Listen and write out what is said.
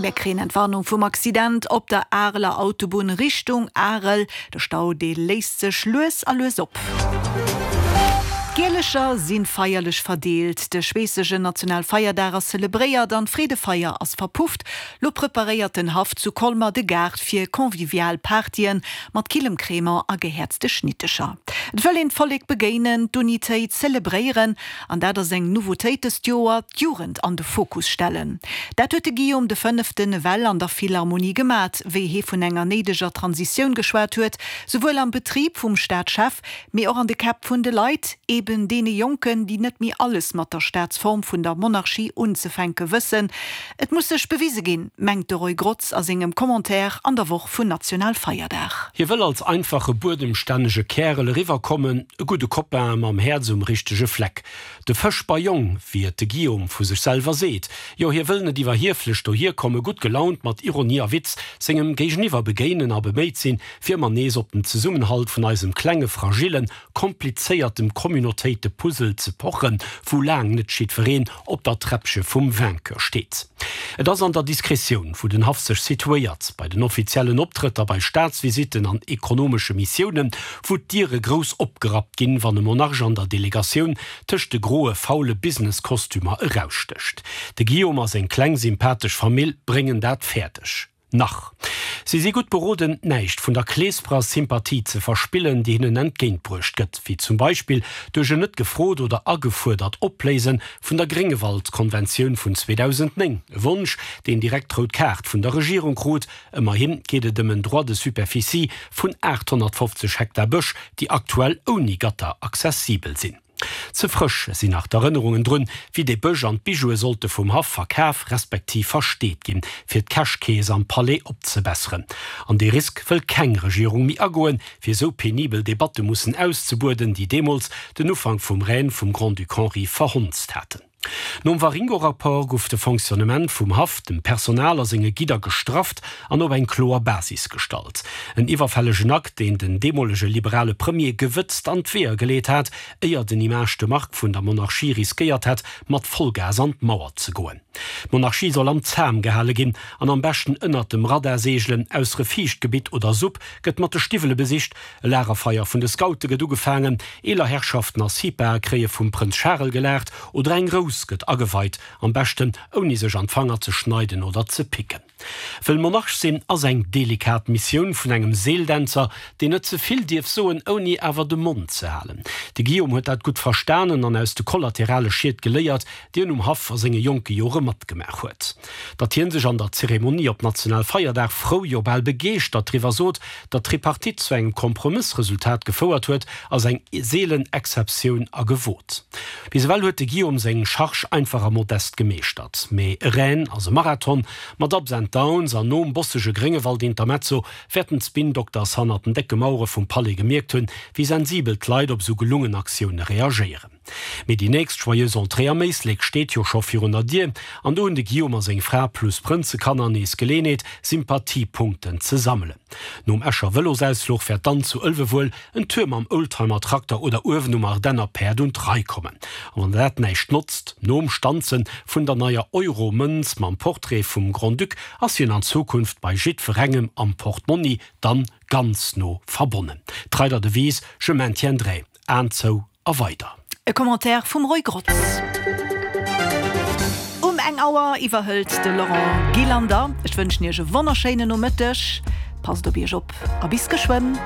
Mär kréien Entwarnung vum Accident op der Areler Autobunn Richtung Arel. De Stau dee léist sech lues a lues op. D'Gielecher si feierlech verdeelt, de schweessegen Nationalfeierdag ass zelebréiert an d'Freedefeier ass verpufft. Lo preparéiert den Haff zu Colmer de Gaart fir convivial Partyen mat killem Crémant a gehäerzte Schnittecher. Et wëll een d'Vollek begéinen, d'Unitéit zelebréieren An dat ass eng Nouveautéit dëst Joer, d'Jugend an de Fokus stellen. Dat huet de Guillaume de Fënneften ewell an der Philharmonie gemat, wéi hee vun enger néideger Transitioun geschwat huet, souwuel am Betrib vum Staatschef, mee och an de Käpp vun de Leit, eben deene Jonken, déi net méi alles mat der Staatsform vun der Monarchie unzefänke wëssen. Et muss sech bewise ginn, mengt de Roy Grotz a sengem Commentaire an der Woch vun Nationalfeierdag. Hie wëll als einfache buedemstännege Kärel eriwwerkommen, e gudde Copain mam Häerz um richtege Fleck. De Fëschber Jong, wéi et de Guillaume vu sech selwer seet. Jo, hie wëll net iwwerhieflech dohierkommen, gutt gelaunt, mat Ironie a Witz sengem Géigeniwwer begéinen a beméit sinn, fir ëmmer nees op den Zesummenhalt vun eisem klenge, fragillen, komplizéiertem Communautéite-Puzzle ze pochen, wou laang net jiddwereen op der Träppche vum Vainqueur steet. Et ass an der Diskretioun, wou den Haff sech situéiert, bei den offiziellen Optrëtter, bei Staatsvisitten an ekonomesche Missiounen, wou d'Diere grouss opgerappt ginn, wann e Monarch an der Delegatioun tëscht de groe, faule Business-Kostümer erausstécht. De Guillaume a seng kleng, sympathesch Famill bréngen dat fäerdeg. Nach. Si si gutt beroden, näischt vun der kleesperer Sympathie ze verspillen, déi hinnen entgéintbruecht gëtt, wéi zum Beispill duerch en net gefrot oder agefuerdert Opléise vun der Gréngewald-Konventioun vun 2009, e Wonsch, deen direkt d'rout Kaart vun der Regierung krut. Ëmmerhi geet et ëm en Droit de superficie vun 850 Hektar Bësch, déi aktuell ouni Gatter accessibel sinn. Ze frësch sinn nach d'Erënnerungen drun, wéi dee Bësch an d'Bijoue sollte vum Haff verkaf respektiv versteet ginn, fir d'Cash-Kees am Palais opzebesseren. An dee Risk wëll keng Regierung méi agoen, fir esou penibel Debatte mussen auszebueden, déi deemools den Ufank vum Règne vum Grand-Duc Henri verhonzt haten. Nom Waringo-Rapport guff de Fonctionnement vum Haff, dem Personal a senge Gidder gestrafft an op eng kloer Basis gestallt. En iwwerfällegen Akt, deen den deemolege liberale Premier gewëtzt an d'Weeër geleet hat, éier den Image de marque vun der Monarchie riskéiert hätt, mat Vollgas an d'Mauer ze goen. D'Monarchie soll am Zam gehale ginn an am beschten ënnert dem Radar seegelen, aussere Fiichtgebitt oder Supp gëtt mat de Stiwwele besicht, E Lagerfeier vun de Scoute gëtt ugefaangen, eeler Herrschaften a Sipae kréie vum Prënz Charel gelaacht oder eng Rous gëtt ageweit, am beschten ouni sech an d'Fanger ze schneiden oder ze picken. Wëll Monarch sinn ass eng delikat Missioun vun engem Seeldänzer, deen net ze vill dierf soen, ouni awer de Mond ze halen. De Guillaume huet dat gutt verstanen an aus de kollaterale Schied geléiert, déi en um Haff a senge jonke Jore matgemaach huet. Datt hien sech an der Zeremonie op Nationalfeierdag frou, jo bal begeeschtert driwwer sot, datt d'Tripartite zu engem Kompromëssresultat gefouert huet, ass eng seelen Exceptioun a gewot. Bis ewell huet de Guillaume seng Charge einfach a modest gemeeschtert. Mee e Règne ass e Marathon mat Ups and Downs an nom bossege Gréngewald-Intermezzo wäerten d'Spin-Doctors hannert den décke Mauere vum Palais gemierkt hunn, wéi sensibel d'Leit op esou gelungen Aktioune reagéieren. Mee déi nächst Joyeuse Entrée am Éislek steet jo scho virun der Dier, an do hunn de Guillaume a seng Fra plus Prënzekanner nees Geleenheet, Sympathiepunkten ze sammelen. Nom Escher Vëlosausfluch wäert dann zu Ëlwe wuel en Tour mam Oldtimer-Trakter oder uewen um Ardenner Päerd un d'Rei kommen. A wann dat näischt notzt, nom Stanze vun der neier Euro-Mënz mam Portrait vum Grand-Duc ass hien an Zukunft bei jiddwerengem am Portmonni dann ganz no verbonnen. Trei der Devise Je maintiendrai. Aen zou a weider. E Commentaire vum Roy Grotz. Um eng Auer iwwerhëlt de Laurent Gillander. Ech wënschen Iech e wonnerschéinen Nomëtteg. Passt op Iech op a bis geschwënn.